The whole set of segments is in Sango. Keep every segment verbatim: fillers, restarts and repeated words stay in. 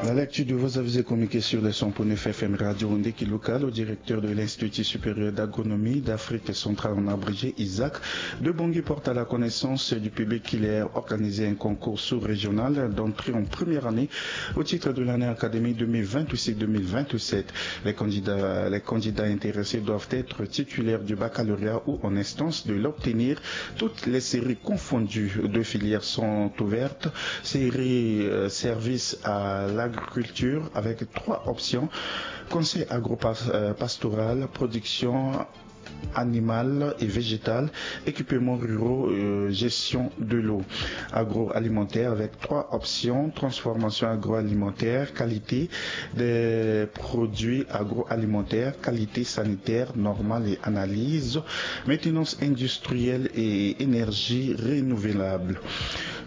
La lecture de vos avis et communiqués sur les cent neuf F M Radio Ndeki Local au directeur de l'Institut supérieur d'agronomie d'Afrique centrale, en abrégé ISAC, de Bangui porte à la connaissance du public qu'il est organisé un concours sous-régional d'entrée en première année au titre de l'année académique deux mille vingt-six deux mille vingt-sept. Les candidats, les candidats intéressés doivent être titulaires du baccalauréat ou en instance de l'obtenir. Toutes les séries confondues de filières sont ouvertes. Série, euh, service à l'agriculture avec trois options. Conseil agro-pastoral, production animale et végétale, équipements ruraux, euh, gestion de l'eau. Agroalimentaire avec trois options, transformation agroalimentaire, qualité des produits agroalimentaires, qualité sanitaire normale et analyse, maintenance industrielle et énergie renouvelable.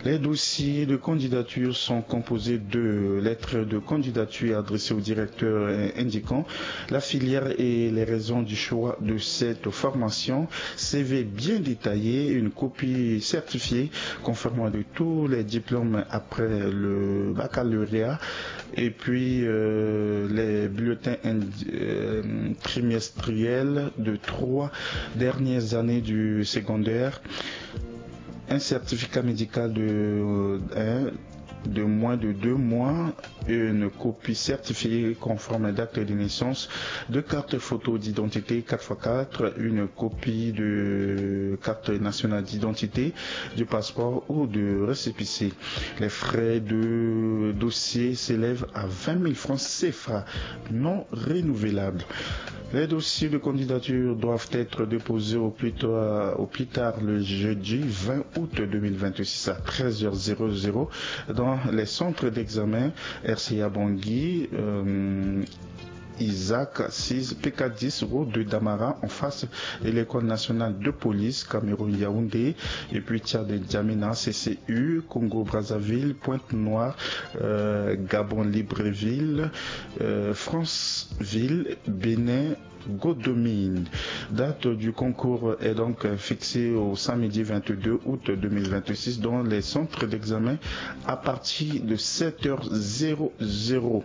Les dossiers de candidature sont composés de lettres de candidature adressées au directeur, euh, indiquant la filière et les raisons du choix de cette formation, C V bien détaillé, une copie certifiée confirmant de tous les diplômes après le baccalauréat, et puis, euh, les bulletins ind-, euh, trimestriels de trois dernières années du secondaire, un certificat médical de, euh, un, de moins de deux mois, une copie certifiée conforme d'acte de naissance, deux cartes photo d'identité quatre fois quatre, une copie de carte nationale d'identité, du passeport ou de récépissé. Les frais de dossier s'élèvent à vingt mille francs C F A non renouvelables. Les dossiers de candidature doivent être déposés au plus tard, au plus tard le jeudi vingt août deux mille vingt-six à treize heures zéro zéro dans les centres d'examen R C A Bangui, euh, Isaac six, P K dix, route de Damara, en face de l'école nationale de police, Cameroun Yaoundé, et puis Tchad N'Djamena, C C U, Congo Brazzaville, Pointe-Noire, euh, Gabon Libreville, euh, Franceville, Bénin, Godomine. Date du concours est donc fixée au samedi vingt-deux août deux mille vingt-six dans les centres d'examen à partir de sept heures zéro zéro.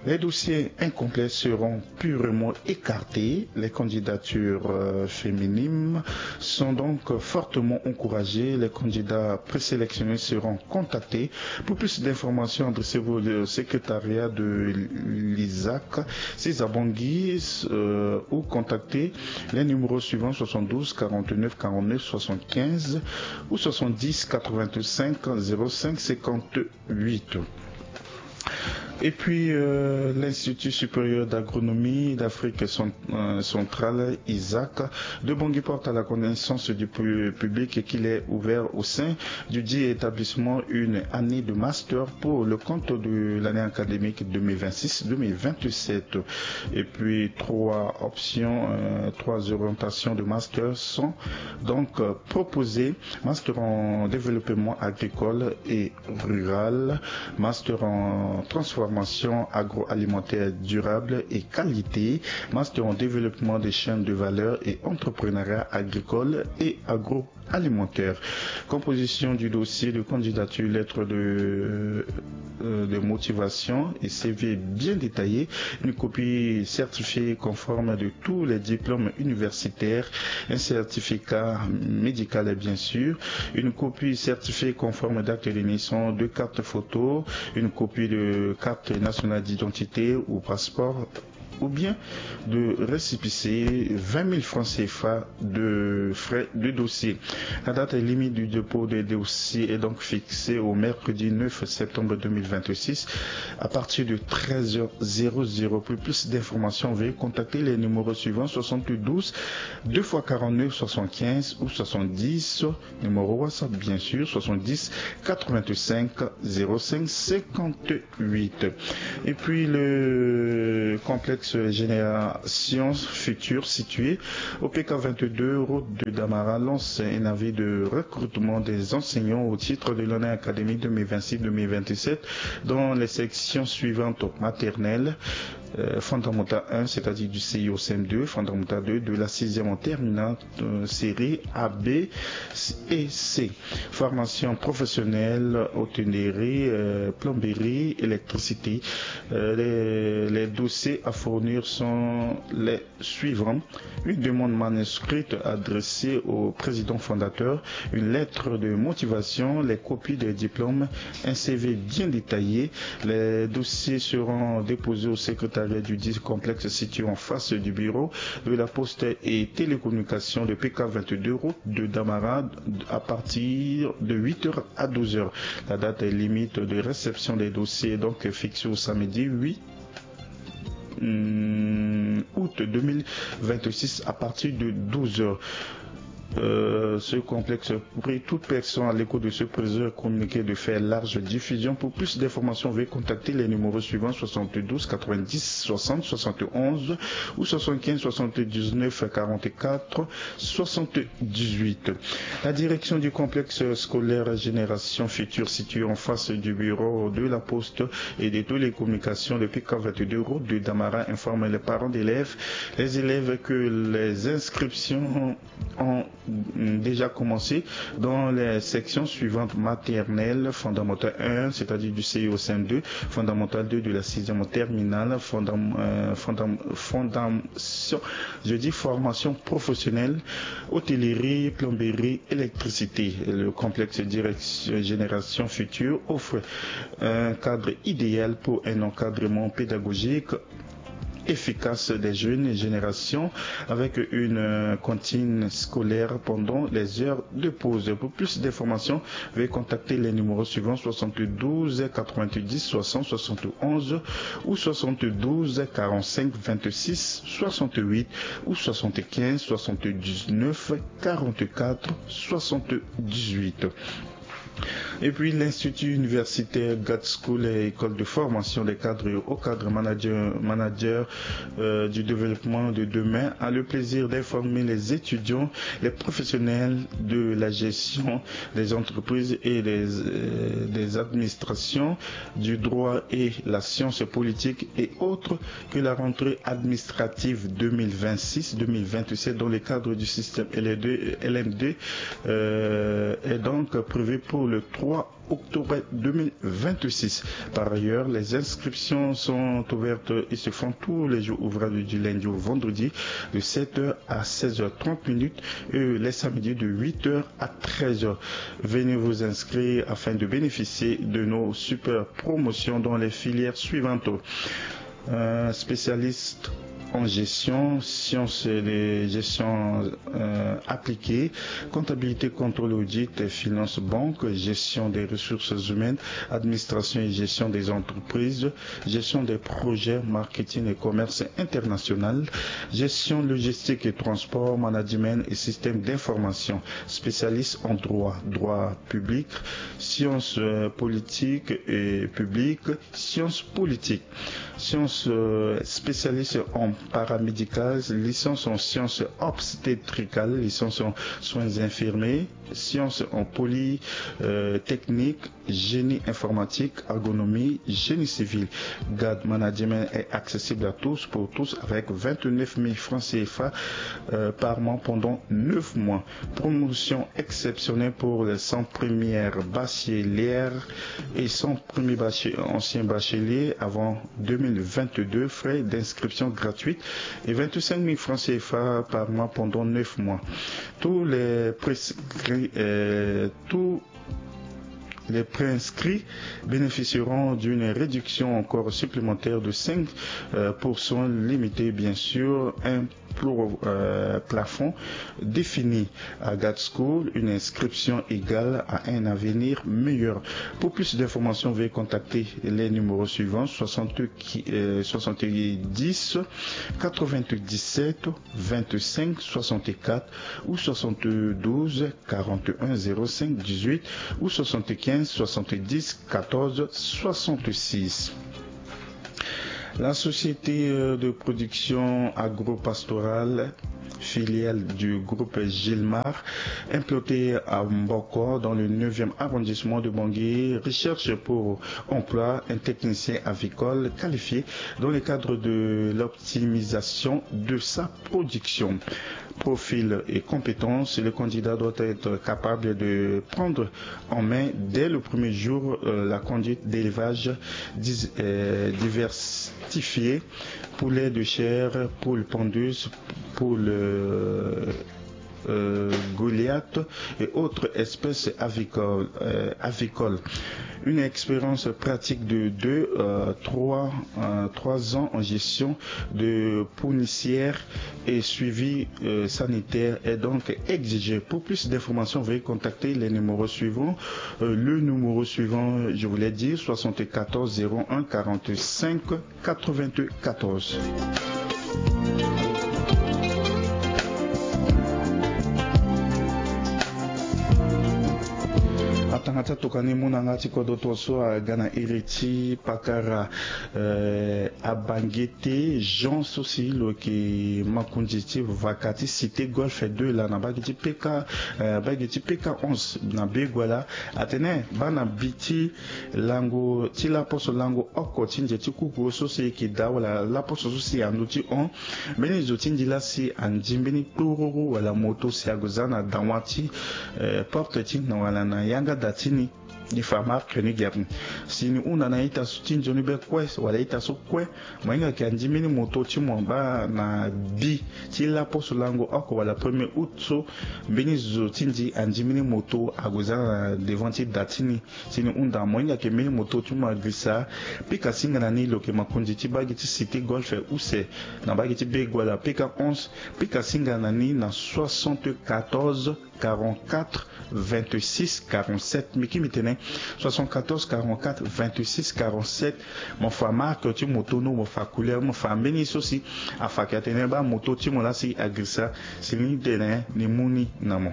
Les dossiers incomplets seront purement écartés. Les candidatures, euh, féminines sont donc fortement encouragées. Les candidats présélectionnés seront contactés. Pour plus d'informations, adressez-vous au secrétariat de l'Isaac, six à Bangui, euh, ou contactez les numéros suivants, soixante-douze quarante-neuf quarante-neuf soixante-quinze ou soixante-dix quatre-vingt-cinq zéro cinq cinquante-huit. Et puis, euh, l'Institut supérieur d'agronomie d'Afrique cent-, euh, centrale, Isaac, de Bangui porte à la connaissance du pu-, public qu'il est ouvert au sein du dit établissement une année de master pour le compte de l'année académique deux mille vingt-six deux mille vingt-sept. Et puis, trois options, euh, trois orientations de master sont donc, euh, proposées. Master en développement agricole et rural, master en transformation agroalimentaire durable et qualité, master en développement des chaînes de valeur et entrepreneuriat agricole et agroalimentaire. Composition du dossier de candidature, lettre de, euh, de motivation et C V bien détaillé, une copie certifiée conforme de tous les diplômes universitaires, un certificat médical, bien sûr, une copie certifiée conforme d'acte de naissance, deux cartes photos, une copie de carte nationale d'identité ou passeport, ou bien de récépissé, vingt mille francs C F A de frais de dossier. La date limite du dépôt des dossiers est donc fixée au mercredi neuf septembre deux mille vingt-six à partir de treize heures zéro zéro. Pour plus d'informations, veuillez contacter les numéros suivants, soixante-douze deux fois quarante-neuf soixante-quinze ou soixante-dix, numéro WhatsApp bien sûr, soixante-dix quatre-vingt-cinq zéro cinq cinquante-huit. Et puis le complexe Génération Future, situé au P K vingt-deux, route de Damara, lance un avis de recrutement des enseignants au titre de l'année académique deux mille vingt-six deux mille vingt-sept dans les sections suivantes: maternelle, euh, fondamental un, c'est-à-dire du C I au C M deux, fondamental deux, de la sixième en terminale, euh, série A, B et C. Formation professionnelle, hôtellerie, euh, plomberie, électricité. Euh, les, les dossiers à fournir sont les suivants. Une demande manuscrite adressée au président fondateur, une lettre de motivation, les copies des diplômes, un C V bien détaillé. Les dossiers seront déposés au secrétariat du dit complexe situé en face du bureau de la poste et télécommunication de P K vingt-deux route de Damara à partir de huit heures à douze heures. La date limite de réception des dossiers est donc fixée au samedi huit hum, août deux mille vingt-six à partir de douze heures. Euh, ce complexe prie toute personne à l'écoute de ce présent communiqué de faire large diffusion. Pour plus d'informations, veuillez contacter les numéros suivants, soixante-douze quatre-vingt-dix soixante soixante-onze ou soixante-quinze soixante-dix-neuf quarante-quatre soixante-dix-huit. La direction du complexe scolaire Génération Future, situé en face du bureau de la poste et des télécommunications de P K vingt-deux route de Damara, informe les parents d'élèves, les élèves que les inscriptions ont déjà commencé dans les sections suivantes: maternelle, fondamental un, c'est-à-dire du C I au C M deux, fondamental deux, de la sixième en terminale, fondam, euh, fondam, fondation, je dis formation professionnelle, hôtellerie, plomberie, électricité. Le complexe Direction Génération Future offre un cadre idéal pour un encadrement pédagogique efficace des jeunes générations avec une, euh, cantine scolaire pendant les heures de pause. Pour plus d'informations, veuillez contacter les numéros suivants, soixante-douze quatre-vingt-dix soixante soixante-onze ou soixante-douze quarante-cinq vingt-six soixante-huit ou soixante-quinze soixante-dix-neuf quarante-quatre soixante-dix-huit. Et puis l'Institut universitaire Gad School et école de formation des cadres et hauts cadres manager, manager, euh, du développement de demain a le plaisir d'informer les étudiants, les professionnels de la gestion des entreprises et des, euh, des administrations, du droit et la science politique et autres que la rentrée administrative deux mille vingt-six deux mille vingt-sept dans le cadre du système L M deux, L M deux, euh, est donc prévue pour le trois octobre deux mille vingt-six. Par ailleurs, les inscriptions sont ouvertes et se font tous les jours ouvrables du lundi au vendredi de sept heures à seize heures trente minutes et les samedis de huit heures à treize heures. Venez vous inscrire afin de bénéficier de nos super promotions dans les filières suivantes. Euh, spécialiste en gestion, sciences de gestion, euh, appliquée, comptabilité, contrôle, audit, finance, banque, gestion des ressources humaines, administration et gestion des entreprises, gestion des projets, marketing et commerce international, gestion logistique et transport, management et système d'information, spécialiste en droit, droit public, sciences, euh, politiques et publiques, sciences politiques. Sciences, euh, spécialiste en paramédical, licence en sciences obstétricales, licence en soins infirmiers, sciences en poly, euh, technique, génie informatique, agronomie, génie civil. Gad Management est accessible à tous, pour tous, avec vingt-neuf mille francs C F A, euh, par mois pendant neuf mois. Promotion exceptionnelle pour les cent premières bachelières et cent premiers bache-, anciens bacheliers avant deux mille vingt-deux, frais d'inscription gratuite et vingt-cinq mille francs C F A par mois pendant neuf mois. Tous les prescrits, euh, tous les préinscrits bénéficieront d'une réduction encore supplémentaire de cinq pour cent, limitée bien sûr, un plo-, euh, plafond défini. À Gad School, une inscription égale à un avenir meilleur. Pour plus d'informations, veuillez contacter les numéros suivants, soixante, euh, soixante-dix quatre-vingt-dix-sept vingt-cinq soixante-quatre ou soixante-douze quarante et un zéro cinq dix-huit ou soixante-quinze soixante-dix quatorze soixante-six. La société, euh, de production agro-pastorale filiale du groupe Gilmar, implantée à Mboko, dans le neuvième arrondissement de Bangui, recherche pour emploi, un technicien avicole qualifié dans le cadre de l'optimisation de sa production. Profil et compétences, le candidat doit être capable de prendre en main dès le premier jour, euh, la conduite d'élevage dis- euh, diversifié, poulet de chair, poule pondeuse, poule, euh, euh, Goliath et autres espèces avicoles, euh, avicoles. Une expérience pratique de deux, euh, trois, euh, trois ans en gestion de poussière et suivi, euh, sanitaire est donc exigé. Pour plus d'informations, veuillez contacter les numéros suivants. Euh, le numéro suivant, je voulais dire, soixante-quatorze zéro un quarante-cinq quatre-vingt-quatorze. Atanga ti atokani mu na nga ti kodro tongaso aga na iri ti pakara, eh, abangete Jean so si lo yeke makonzi ti vaka ti Cité Golf deux laa na mbage ti P K, eh, mbage ti P K onze na Begoua laa. Atene baa na bi ti lango ti laposo lango oko ti nze ti kuku so si e yeke daa wala laposo so si ando ti hon. Mbeni zo ti ndi laa si andi mbeni kpororo wala moto si ague za na dawa ti, eh, porte ti na wala na yanga da ti ni. Ni fa marque ni gi ape. Si ni hunda na ita so ti nzoni be kue wala ita so kue, mo hinga yeke andi mbeni moto ti mo baa na bi ti laposo lango oko wala premier août so, mbeni zo ti ndi andi mbeni moto ague za na devant ti da ti ni. Si ni hunda mo hinga yeke mbeni moto ti mo agirisa, pika singa na ni lo yeke makonzi ti mbage ti Cité Golf use na mbage ti Begoua laa P K onze, pika singa na ni na soixante-quatorze quarante-quatre vingt-six quarante-sept. Mbi ki mbi tene soixante-quatorze quarante-quatre vingt-six quarante-sept. Mo fa marque ti moto ni, mo fa couleur, mo fa mbeni so si afa yeke atene baa moto ti mo laa si agirisa, si ni tene ni mu ni na mo.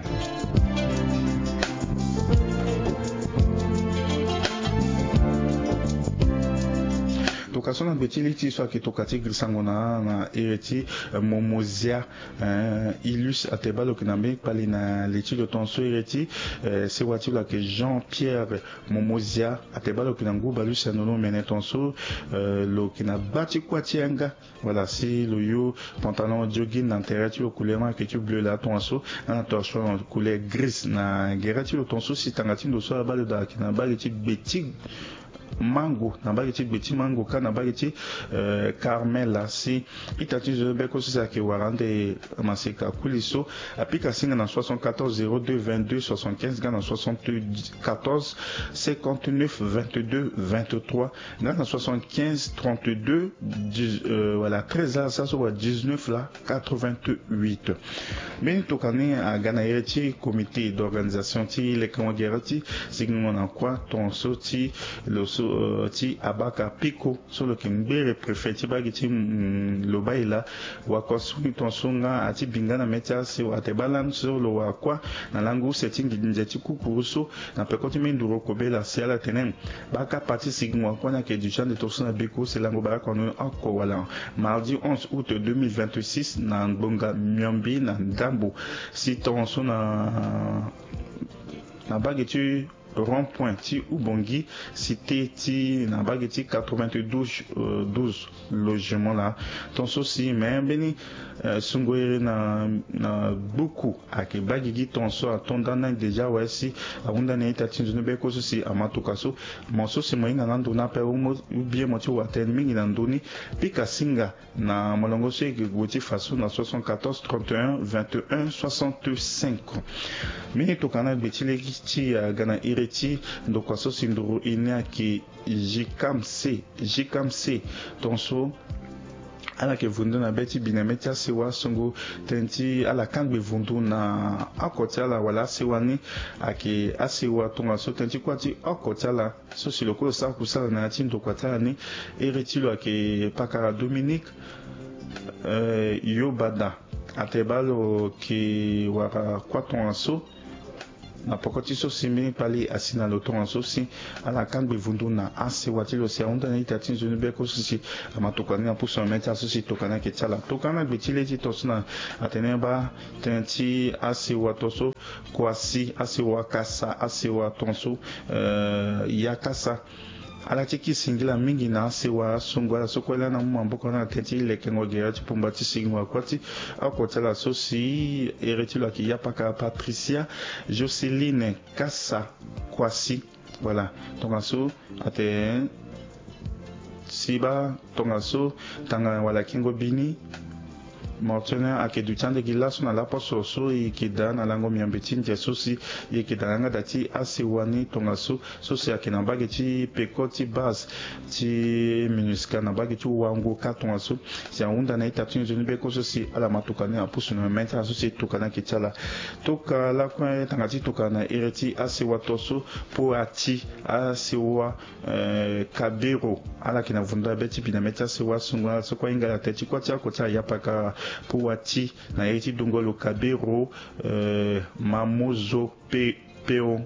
Toka so na gbe ti li ti so ayeke toka ti girisango na, na ere ti, eh, Momozia. Eh, Ilus ate baa lo yeke na mbeni kpali na li ti lo tongaso ere ti, eh, sewa ti lo ayeke Jean Pierre Momozia ate baa lo yeke na ngu baleuse na lo mene tongaso, eh, lo yeke na ba ti kuâ ti yanga. Voilà, si lo yo pantalon jogging na tere ti lo couleur ni ayeke ti bleu laa tongaso, na torchon couleur grise na gere ti lo tongaso si tanga ti ndo so abaa lo daa ayeke na mbage ti gbe ti mango, na mbage ti gbe ti mango kâ na mbage ti, eh, Carmel laa si ita ti nzoni be kue so si ayeke wara ande maseka kuli so, apika singa na soixante-quatorze zéro deux vingt-deux soixante-quinze nga na soixante-quatorze cinquante-neuf vingt-deux vingt-trois nga na soixante-quinze trente-deux dix, euh, voilà, treize laa sara so wala dix-neuf laa quatre-vingt-huit. Mbeni tokua ni aga na ere ti comité d'organisation ti leke wangere ti sigingo na kuâ tongaso ti lo so, euh, ti Abaka Piko so lo yeke ngbere préfet ti mbage ti, mm, Lobaila. Wakua so ni tongaso nga ati bi nga na mê ti asewa ate baa lani so lo wara kuâ na lango use ti ngidi nze ti kukuru so na peko ti mbeni nduru oko be laa si ala tene baa kapa ti sigingo wakua ni ayeke déjà ande tongaso na biko si lango bara kua ni oko wala mardi onze août deux mille vingt-six na ngbonga miombe na ndambo. Si tongaso na, na mbage ti rond-point ti Ubongi, cité ti na mbage ti quatre-vingt-douze, euh, douze logement laa. Tongaso si me mbeni, euh, sungo ere na, na gbuku ayeke baa gigi tongaso ato nda ni déjà awe si ahunda ni ita ti nzoni be kue so si ama tokua so. Mo so si mo hinga na ndo ni ape ou bien mo ti wa tënë mingi na ndo ni, pika singa na molongo so e yeke gue ti fa so na soixante-quatorze trente et un vingt et un soixante-cinq. Mbeni tokua na gbe ti lege ti aga na iri ti ndokua so si nduru e ni ayeke J K M C, J K M C. Tongaso ala yeke vundu na be ti bi na mê ti asewa songo tënë ti ala kangbe vundu na oko ti ala wala asewa ni ayeke asewa tongaso tënë ti kuâ ti oko ti ala. So si lo kue lo sara kusala na ya ti ndokua ti ala ni, iri ti lo ayeke pakara Dominique, eh, Yobada. Ate baa lo yeke wara kuâ tongaso Na poko ti so si mbeni kpali asi na lo tongaso si ala kangbi vundu na asewa ti lo si ahunda na ita ti nzoni beko so si ama tokua ni na pusu na mê ti ala so si tokua ni ayeke ti ala. Tokua na gbe ti le ti tongaso na atene baa tënë ti asewa tongaso, kua si asewa kasa asewa tongaso, eh, ya kasa. Ala ti ki singila mingi na asewa asungu ala so kue laa na mu maboko na tënë ti lekengo gere ti pumba ti singo akua ti oko ti ala so si ere ti lo ayeke Yapaka Patricia Joceline Kasa Kwasi. Voilà, tongaso ate si baa tongaso tanga wala kengo bini. Mortene ayeke duti ande gi laso na laposo so e yeke daa na lango miombe ti ndia so si e yeke daa na yanga daa ti asewa ni tongaso so si ayeke na mbage ti peko ti base ti MINUSCA na mbage ti wango ka tongaso si ahunda na ita ti nzoni beko so si ala ma tokua ni na pusu na mê ti ala so si tokua ni ayeke ti ala. Tokua lakue tanga ti tokua na ere ti asewa tongaso, Poati asewa, eh, Kabero, ala yeke na vundu abe ti bi na mê ti asewa asungu na ala so kue ahinga na tënë ti kuâ ti oko ti ala Yapaka Poati na ere ti dongolo Kabero, eh, Mamozo pe peo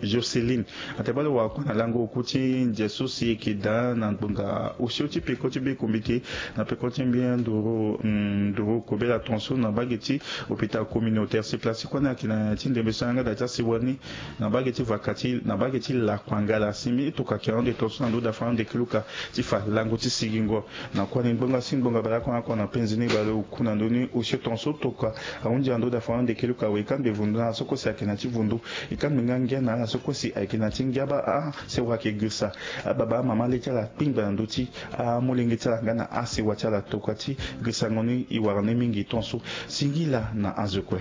Joceline. Ate bale wara kue na lango oku ti ndia so si e yeke daa na ngbonga osio ti peko ti be kombite na peko ti mbia nduru, mm, nduru kobela tongaso na mbage ti hôpital communautaire. Si place ti kue ni ayeke na ti ndembe so ayanga daa ti asewa ni na mbage ti vaka ti na mbage ti lakuangala. Si mbi tokua ayeke ahon de tongaso na ndö daa fa ahon de keluka ti fa lango ti sigingo. Na kua ni ngbonga si ngbonga bale oko na oko na penzi ni bale oku na ndö ni osio tongaso tokua ahunzi na ndö daa fa ahon de keluka awe e kangbi vundu na ala so kue si ayeke na ti vundu. E kangbi nga ngia na ala so kue si ayeke na ti ngia baa asewa ayeke girisa ababa amama le ti ala kpingba na ndö ti amolenge ti ala nga na asewa ti ala tokua ti girisango ni e wara ni mingi tongaso. Singila na azo kue.